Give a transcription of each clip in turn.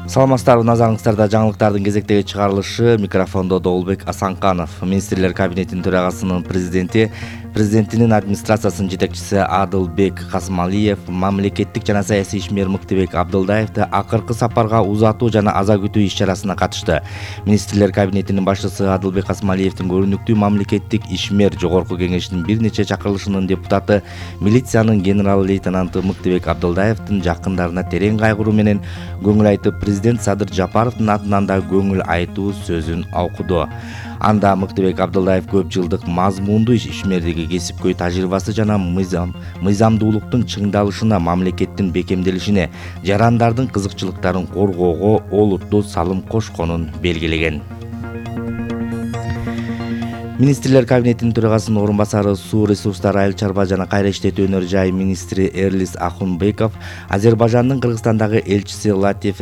Саламатсыздарбы, назарыңыздарда жаңылыктардын кезектеги чыгарылышы. Микрофондо Доолбек Асанканов. Министрлер кабинетинин төрагасынын президентинин администрациясынын жетекчиси Адылбек Касмалиев мамлекеттик жана саясий ишмер Мыктыбек Абдылдаевди акыркы сапарга узатуу жана аза күтүү иш-чарасына катышты. Министрлер кабинетинин башчысы Адылбек Касмалиевдин көрүнүктүү мамлекеттик ишмер Жогорку кеңешинин бир нече чакырылышынын депутаты, милициянын генерал-лейтенанты Мыктыбек Абдылдаевдин жакындарына терең кайгыруу менен көңүл айтып, президент Садыр Жапаровдун атынан да көңүл айтуу сөзүн окуду. Анда Мыктыбек Абдылдаев көп жылдык мазмундуу ишмердиги, кесипкөй тажрыйбасы жана мыйзамдуулуктун чыңдалышына, мамлекеттин бекемделишине, жарандардын кызыкчылыктарын коргоого олуттуу салым кошконун белгилеген. Министрлер кабинетинин төрагасынын орун басары, суу ресурстары, айыл чарба жана кайра иштетүү өнөр жай министри Эрлис Ахунбеков Азербайжандын Кыргызстандагы элчиси Латиф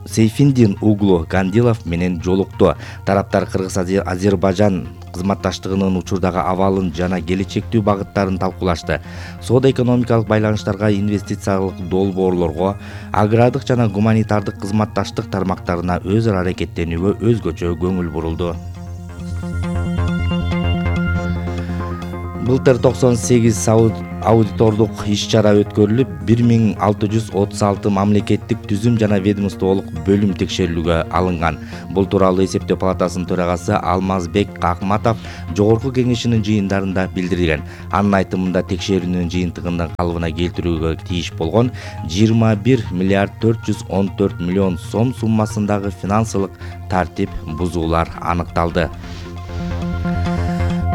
Сейфиндин углу Гандилов менен жолукту. Тараптар Кыргыз-Азербайжан кызматташтыгынын учурдагы абалын жана келечектүү багыттарын талкуулашты. Соода-экономикалык байланыштарга, инвестициялык долбоорлорго, агрардык жана гуманитардык кызматташтык тармактарына өз ара аракеттенүүгө өзгөчө көңүл бурулду. Былтыр 98 аудитордук иш-чара өткөрүлүп, 1636 мамлекеттик түзүм жана ведомстволук бөлүм текшерүүгө алынган. Бул тууралуу эсептөө палатасынын төрагасы Алмазбек Акматов Жогорку кеңешинин жыйындарында билдирген. Анын айтымында текшерүүнүн жыйынтыгынын калыбына келтирүүгө тийиш болгон 21 миллиард 414 миллион сом суммасындагы финансылык тартип бузуулар аныкталды.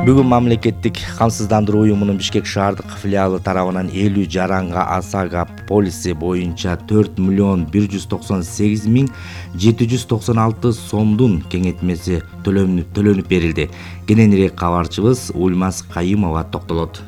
Бүгүн мамлекеттик камсыздандыруу уюмунун Бишкек шаардык филиалы тарабынан 50 жаранга ОСАГО полиси боюнча 4 миллион 198 миң 796 сомдун кеңетмеси төлөнүп берилди. Кененирээк кабарчыбыз Ульмас Кайымова токтолот.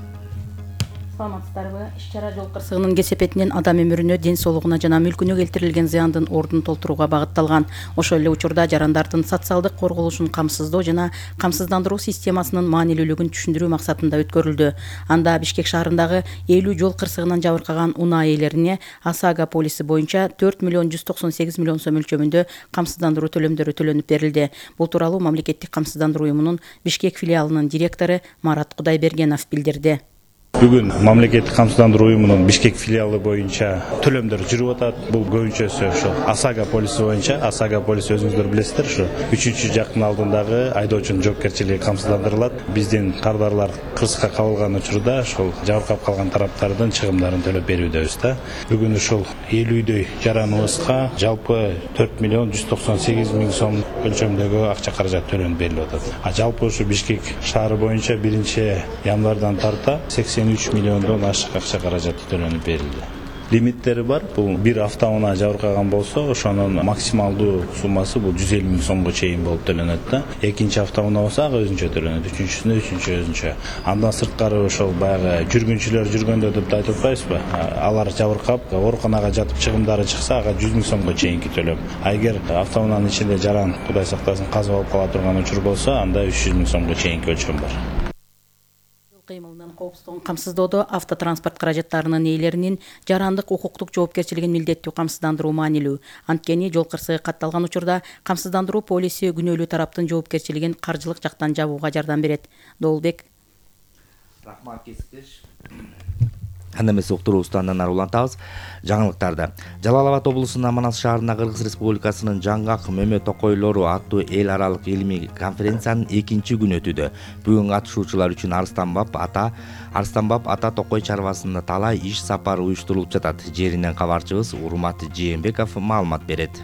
Саламатсыздарбы. Иш-чара жол кырсыгынын кесепетинен адам өмүрүнө, ден соолугуна жана мүлкүнө келтирилген зыяндын ордун толтурууга багытталган. Ошол эле учурда жарандардын социалдык корголушун камсыздоо жана камсыздандыруу системасынын маанилүүлүгүн түшүндүрүү максатында өткөрүлдү. Анда Бишкек шаарындагы 50 жол кырсыгынан жабыркаган унаа ээлерине ОСАГО полиси боюнча 4 миллион 198 миллион сом мөлчөрүндө камсыздандыруу төлөмдөрү төлөнүп берилди. Бул тууралуу мамлекеттик камсыздандыруу уюмунун Бишкек филиалынын директору Марат Кудайбергенов билдирди. Бүгүн мамлекеттик камсыздандыруу уюмунун Бишкек филиалы боюнча төлөмдөр жүрүп атат. Бул көбүнчөсү ошо ОСАГО полиси боюнча. ОСАГО полиси өзүңүздөр билесиздер, ушу 3-жактын алдындагы айдоочунун жоопкерчилиги камсыздандырылат. Биздин кардарлар кырсыкка кабылган учурда ошол жабыркап калган тараптардын чыгымдарын төлөп берүүбүз да. Бүгүн ушул 50дөй жараныбызга жалпы 4 миллион 198 миң сом өлчөмдөгү акча каражат төлөнүп берилип атат. Жалпы ушу Бишкек шаары боюнча 1-январдан тарта 83 миллиондон ашык акча каражаты төлөнүп берилди. Лимиттери бар. Бул бир автоунаа жабыркаган болсо, ошонун максималдуу суммасы бул 150 миң сомго чейин болуп төлөнөт да. Экинчи автоунаа болсо ага өзүнчө төлөнөт, үчүнчүсүнө өзүнчө. Андан сырткары ошол баягы жүргүнчүлөр жүргөндө деп айтып атпайбызбы? Алар жабыркап, ооруканага жатып чыгымдары чыкса, ага 100 миң сомго чейинки төлөм. Эгер автоунаанын ичинде жаран, Кудай сактасын, каза болуп кала турган учур болсо, анда 300 миң сомго чейинки өлчөм бар. Кыймылынан коопсуздугун камсыздоодо автотранспорт каражаттарынын ээлеринин жарандык укуктук жоопкерчилигин милдеттүү камсыздандыруу маанилүү. Анткени жол кырсыгы катталган учурда камсыздандыруу полиси күнөөлүү тараптын жоопкерчилигин каржылык жактан жабууга жардам берет. Доолбек. Рахмат кесиптеш. Анда эмес уктуруубузду андан ары улантабыз. Жаңылыктарда Жалал Абад облусунун Манас шаарында Кыргыз Республикасынын жаңгак мөмө токойлору аттуу эл аралык илимий конференциянын 2-күнү өтүүдө. Бүгүн катышуучулар үчүн Арстанбап ата токой чарбасында талай иш сапар уюштурулуп жатат. Жеринен кабарчыбыз Урмат Жээнбеков маалымат берет.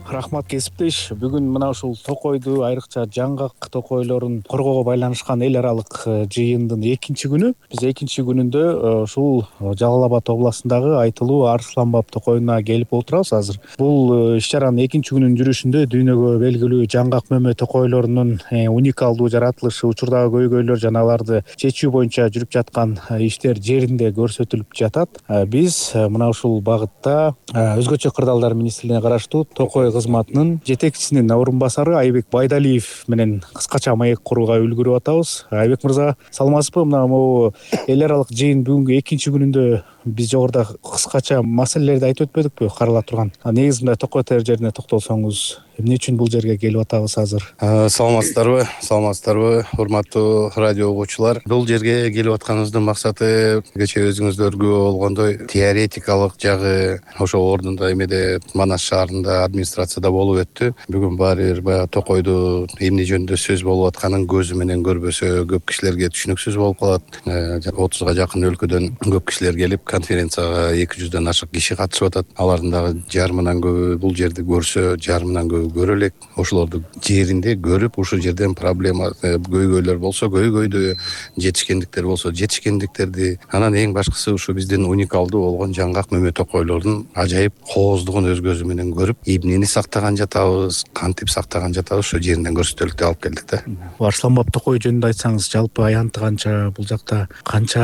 Рахмат кесиптеш. Бүгүн мына ушул токойду, айрыкча жаңгак токойлорун коргоого байланышкан эл аралык жыйындын 2-күнү. Биз 2-күнүндө ушул Жалал Абад областындагы айтылуу Арстанбап токойуна келип отурабыз азыр. Бул иш-чаранын 2-күнүнүн жүрүшүндө дүйнөгө белгилүү жаңгак мөмө токойлорунун уникалдуу жаратылышы, учурдагы көйгөйлөр жана аларды чечүү боюнча жүрүп жаткан иштер жеринде көрсөтүлүп жатат. Биз мына ушул багытта өзгөчө кырдаалдар министрлигине караштуу токой кызматынын жетекчисинин орун басары Айбек Байдалиев менен кыскача маек курууга үлгүрүп атабыз. Айбек мырза, саламатсызбы? Мына могу эл аралык жыйын бүгүнкү 2-күнүндө биз жогоруда кыскача маселелерди айтып өтпөдүкпү карала турган? Негизи мындай токой тер жерине токтолсоңуз, эмне үчүн бул жерге келип атабыз азыр? Саламатсыздарбы, урматтуу радио угуучулар. Бул жерге келип атканыбыздын максаты кечээ өзүңүздөргө болгондой теоретикалык жагы ошол ордунда эмеде Манас шаарында администрацияда болуп өттү. Бүгүн баары бир баягы токойду эмне жөнүндө сөз болуп атканын көзү менен көрбөсө көп кишилерге түшүнүксүз болуп калат. 30га жакын өлкөдөн көп кишилер келип конференцияга 200дөн ашык киши катышып атат. Алардын дагы жарымынан көбү бул жерди көрсө, жарымынан көбү көрө элек. Ошолорду жеринде көрүп, ушул жерден проблема көйгөйлөр болсо көйгөйдү, жетишкендиктер болсо жетишкендиктерди, анан эң башкысы ушу биздин уникалдуу болгон жаңгак мөмө токойлордун ажайып кооздугун өз көзү менен көрүп, эмнени сактаган жатабыз, кантип сактаган жатабыз ошо жеринден көрсөтөлүктү алып келдик да. Арсланбап токой жөнүндө айтсаңыз, жалпы аянты канча, бул жакта канча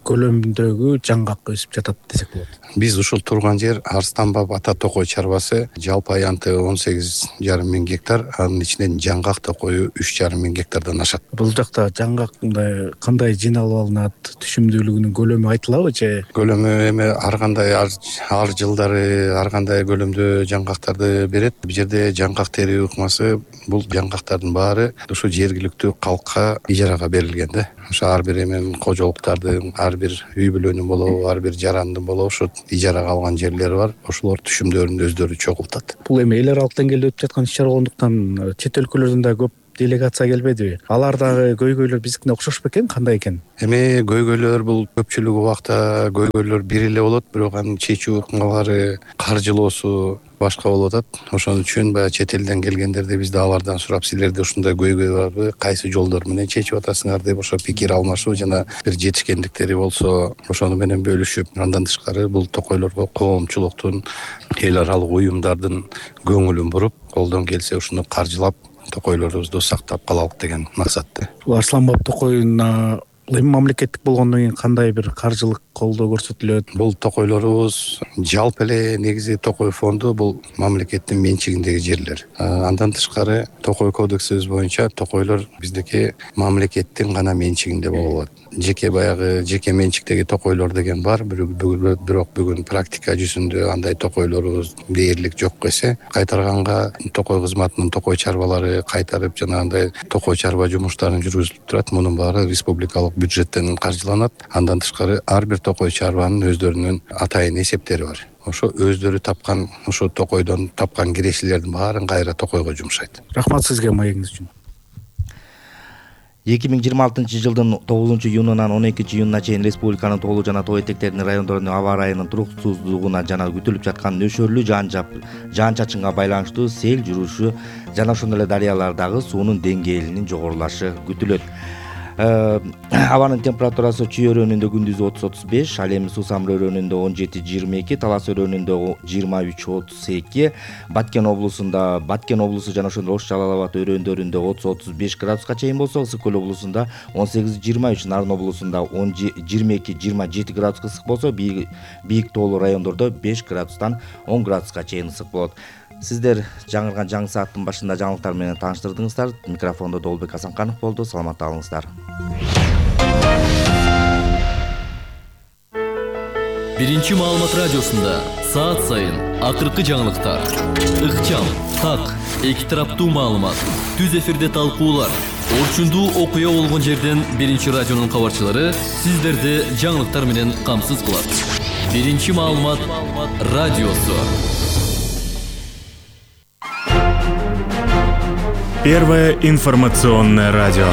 көлөмүндөгү жаңгак өсүп жатат десек болот? Биз ушул турган жер Арсланбап ата токой чарбасы, жалпы аянты 18,5 миң гектар, анын ичинен жаңгак токою 3,5 миң гектардан ашат. Бул жакта жаңгак мындай кандай жыйналып алынат, түшүмдүүлүгүнүн көлөмү айтылабы же? Көлөмү эми ар кандай ар жылдары ар кандай көлөмдө жаңгактарды берет. Бул жерде жаңгак тери ыкмасы, бул жаңгактардын баары ушу жергиликтүү калкка ижарага берилген да. Ошо ар бир эми кожолуктардын, ар бир үй бүлөнүн болобу, ар бир жарандын болобу ошо ижарага алган жерлери бар. Ошолор түшүмдөрүн өздөрү чогултат. Бул эми эл аралык деңгээлде өтүп жаткан иш-чара болгондуктан чет өлкөлөрдөн да көп делегация келбедиби? Алар дагы көйгөйлөр биздикине окшош бекен, кандай экен? Эми көйгөйлөр бул көпчүлүк убакта көйгөйлөр бир эле болот, бирок анын чечүү ыкмалары, каржылоосу башка болуп атат. Ошон үчүн баягы чет элден келгендерди бизде алардан сурап, силерде ушундай көйгөй барбы, кайсы жолдор менен чечип атасыңар деп ошо пикир алмашуу жана бир жетишкендиктери болсо ошону менен бөлүшүп, андан тышкары бул токойлорго коомчулуктун, эл аралык уюмдардын көңүлүн буруп, колдон келсе ушуну каржылап токойлорубузду сактап калалык деген максатта. Бул Арсланбап токоюна эми мамлекеттик болгондон кийин кандай бир каржылык колдоо көрсөтүлөт? Бул токойлорубуз жалпы эле негизи токой фонду бул мамлекеттин менчигиндеги жерлер. Андан тышкары токой кодексибиз боюнча токойлор биздики мамлекеттин гана менчигинде болот. Жеке баягы жеке менчиктеги токойлор деген бар, бирок бүгүн практика жүзүндө андай токойлорубуз дээрлик жок эсе, кайтарганга токой кызматынын токой чарбалары кайтарып жанагындай токой чарба жумуштарын жүргүзүлүп турат. Мунун баары республикалык бюджеттен каржыланат. Андан тышкары ар бир токой чарбанын өздөрүнүн атайын эсептери бар. Ошо өздөрү тапкан, ошо токойдон тапкан кирешелердин баарын кайра токойго жумшайт. Рахмат сизге маегиңиз үчүн. 2026 жылдын 9 июнунан 12 июнуна чейин республиканын тоолуу жана тоо этектеринин райондорунун аба ырайынын туруксуздугуна жана күтүлүп жаткан нөшөрлүү жаан-чачынга байланыштуу сел жүрүшү жана ошондой эле дарыялардагы суунун деңгээлинин жогорулашы күтүлөт. Абанын температурасы Чүй өрөөнүндө күндүзү 30-35, ал эми Суусамыр өрөөнүндө 17-22, Талас өрөөнүндө 23-32, Баткен облусу жана ошондой Ош Жалал Абад өрөөндөрүндө 30-35 градуска чейин болсо, Ысык Көл облусунда 18-23, Нарын облусунда 22-27 градуска ысык болсо, бийик тоолуу райондордо 5 градустан 10 градуска чейин ысык болот. Сиздер жаңырган жаңы сааттын башында жаңылыктар менен тааныштырдыңыздар. Микрофондо Долбек Асанканов болду. Саламат алыңыздар. Биринчи маалымат радиосунда саат сайын акыркы жаңылыктар, ыкчам, так, эки тараптуу маалымат, түз эфирде талкуулар, орчундуу окуя болгон жерден Биринчи радионун кабарчылары сиздерди жаңылыктар менен камсыз кылат. Биринчи маалымат радиосу. Первое информационное радио.